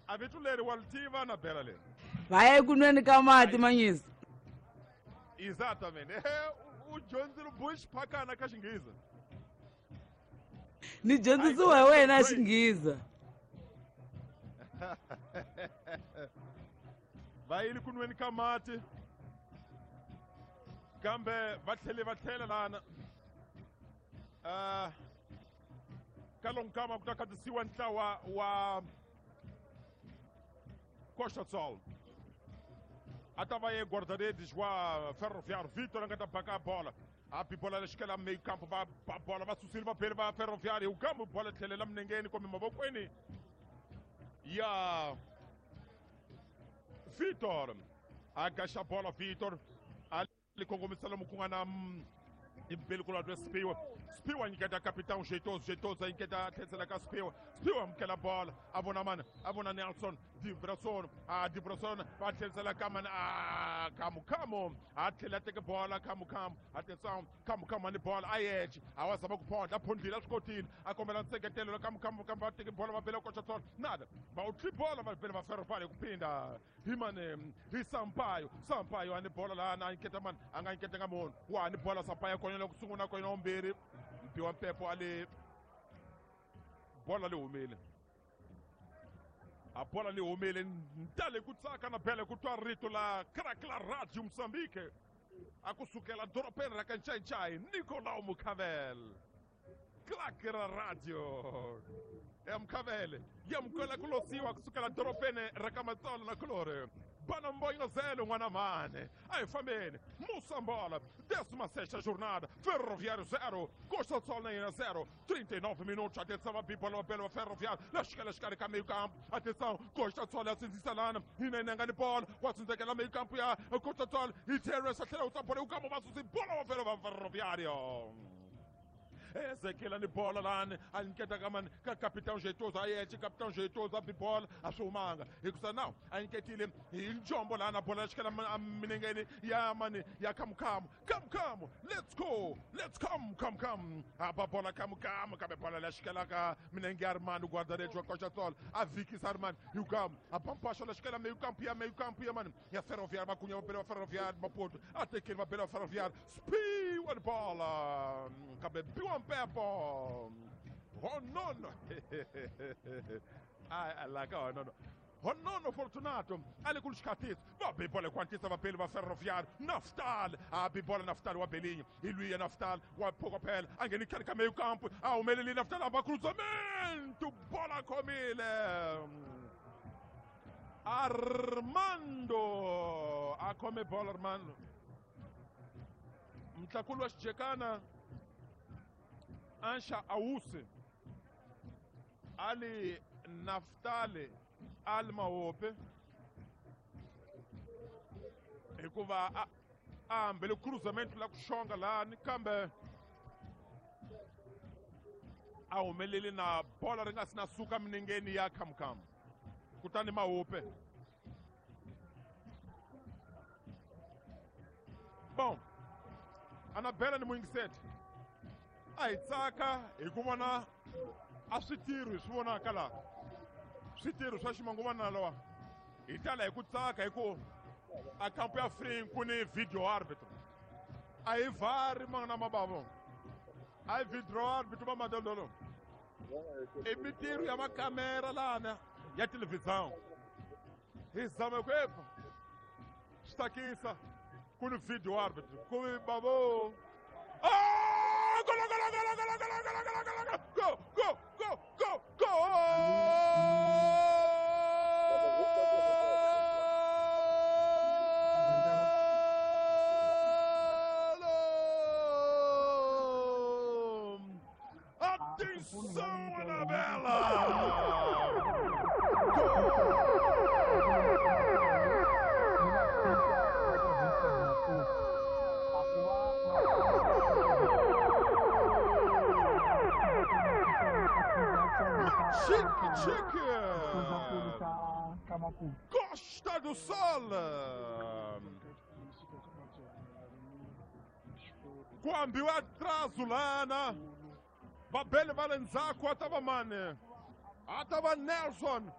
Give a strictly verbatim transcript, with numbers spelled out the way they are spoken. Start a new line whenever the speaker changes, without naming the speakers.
A vito leri wa li tiva na bela leri.
Va ya eku nweni ka mati manyisa.
Exatamente. É, o, o dyondzile bush phakana ka xinghiza.
Ni dyondzisiwa hi wena xinghiza.
Va yile ku nweni ka mati. Kambe va tlhele va tlhela lana. Uh, ka lonkama ku ta khatisiwa ntlawa wa Costa Sol. A ta va ye guarda-redes wa Ferroviário Vitor a nga ta baka bola. A bi bola lexikela meio campo va ba bola va susile va bele va Ferroviário u kambe bola tlhelela minengeni kumbe mavokweni ya Vitor. A gaxa bola Vitor a li kongomisa lomu ku nga na impeli kulwa Spiwa. Spiwa nyiketa capitão jeitoso, jeitoso a tlherisela ka Spiwa. Spiwa amukela bola, a vona mani, a vona Nelson Divrason, a Divrason va tlherisela ka mani, a Kamukamu, a tlhela teke bola Kamukamu, atenção, Kamukamu ni bola a yexe, a wa zama ku phondla, a phondlile a swi kotile, a kombela nseketelo Kamukamu kambe va teke bola va bela koxa tsona, nada, va u tli bola va bela va Ferroviário ku phinda hi mani, hi Sampaio, Sampaio a ni bola lana a nyiketa mani, a nga nyiketanga munhu, wa ni bola Sampaio konyela ku sungula konyela wumbirhi, mpiwa mpepo a le bola li humile. A bola li humile ntale ku tsaka na bele ku twa rito la crack la Radio Moçambique. A ku sukela dorobeni ra ka Nchainchai Nicolau Mukhavel. Crack ra radio. Ya Mukhavele, ya mukela ku losiwa ku sukela dorobeni ra ka Matsolo na Kulore. Bana Mboino zero, n'wana mane. A hi fambeni. Moçambola, décima sexta jornada. Ferroviário zero, Costa do Sol na yena zero. trinta e nove minutos. Atenção, a bibola, bela Ferroviário. Lasca, lasca, ka meio campo. Atenção, Costa do Sol asinzisa lana. Hina inanga ni bola. Wasinzekela meio campo ya Costa do Sol. E Teresa tlhela u tsapole u kamo va susi bola wa Ferroviário. Ezekiel ni bola lani a nyiketa ka mani ka capitão jeitoso a yexe capitão jeitoso a bi bola a swi humanga hikusa now a nyiketile hi njombo lana bola ya xikela minengeni ya mani ya Kamukamu. Kamukamu, let's go, let's come, come, come. A ba bola Kamukamu kambe bola la xikela ka minenge ya Armando guarda-redes wa Costa Sol a vikisa Armando Yukamu a pampasha la xikela meio campo ya meio campo ya mani ya Ferroviário makunha va bela va Ferroviário Maputo a tekeli va bela va Ferroviário spiwa ni bola kambe biwa Pepo. Honono. Ai, la ka honono. Honono Fortunato. Ali ku xikhatisa. Va bi bola kwantisa va beli va Ferroviário. Naftal. A bi bola Naftal wa Belinho. Hi luya Naftal wa Pokopela. A ngheni khale ka meio campo. A humeleli Naftal a va cruzamento. Bola khomile. Armando. A khome bola Armando. Mtlakulu wa xijekana. Ansha Ausi Ali Naftali Ali Maope hikuva a hambele cruzamento la ku xonga lani kambe a humeleli na bola ri nga si na suka minengeni ya Kamukamu kutani Maope. Bom, Anabela ni muyingiseti a hi tsaka hi ku vona a switirho hi swi vonaka laha switirho swa ximanguvana lawa hi tala hi ku tsaka hi ku a kampo ya free ku ni video arbitro a hi vari mangana mabavo a hi video arbitro va madololo i mitirho ya makamera lana ya televisão hi zama ku epa swi tsakisa ku ni video arbitro ku bavo. Ah! Go, go, go, go, go, go, go, go, go, go, go, go, go, go! Atenção, Anabela! Chique, chique! Costa do Sol! Ku ambiwa atraso lana. Va bele va le ndzhaku a ta va mani? A ta va Nelson.